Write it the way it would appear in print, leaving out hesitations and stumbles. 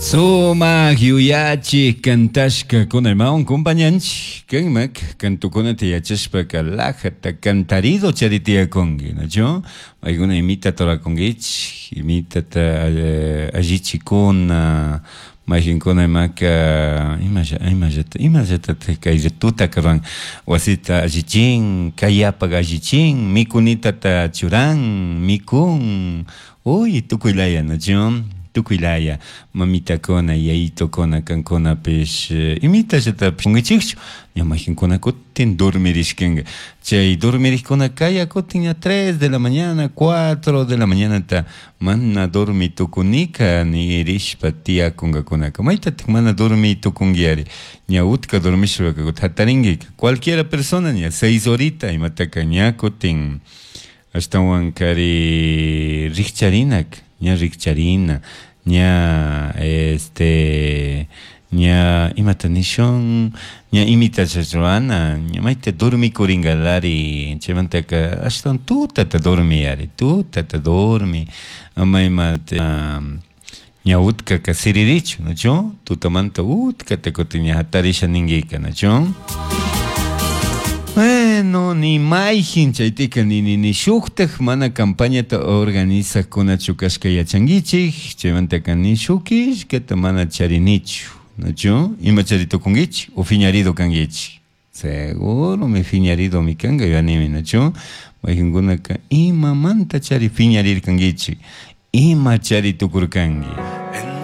Sumak yuyachik kantashkakuna imawan compañanchik kanmak kantukunata yachashpaka lajata cantarido chari tiyakunki, nachu? Paykuna imitata rurakunkichik, imitata allichikuna, mayqinkuna imaka imalla imallata imallatatik kay tutaka ruran, wasita allichin, kayapak allichin, mikunitata churan, mikun, uy tukuylaya, nachu? Tukuylaya mamitakuna, yayitukuna kankunapish imitallatapish kunkichikchu, ña mayqinkuna kutin dormirishkanka, chay dormirikkuna kaya kutin ña 3 de la mañana, 4 de la mañanata mana dormi tukunika nirishpa tiyakunkakunaka, maytatik mana dormi tukunkiari, ña utka dormishpaka kutin jatarinkika, cualquiera persona ña 6 horita imataka ña kutin ashtawan kari rikcharinak, ña rikcharina, ña este ña imata nishun, ña imita rurana, ña mayta dormikurinkalari, chaymantaka ashtawan tutata dormiyari, tutata dormi, ama imata ña utkaka siririchu, nachu? Tutamanta utkata kutin ña jatarisha ninkika, nachu? Bueno, ni mayjin chaytika ni ni ni shuktak mana campañata organizajkunachu kashka yachankichik, chaymantaka ni shuk killkata mana charinichu, nachu? Ima chari tukunkichik o fiñarido kankichik? Seguro mi fiñarido mi kanka yuyanimi, nachu? Mayqinkunaka imamanta chari fiñarirkankichik, ima chari tukurkanki.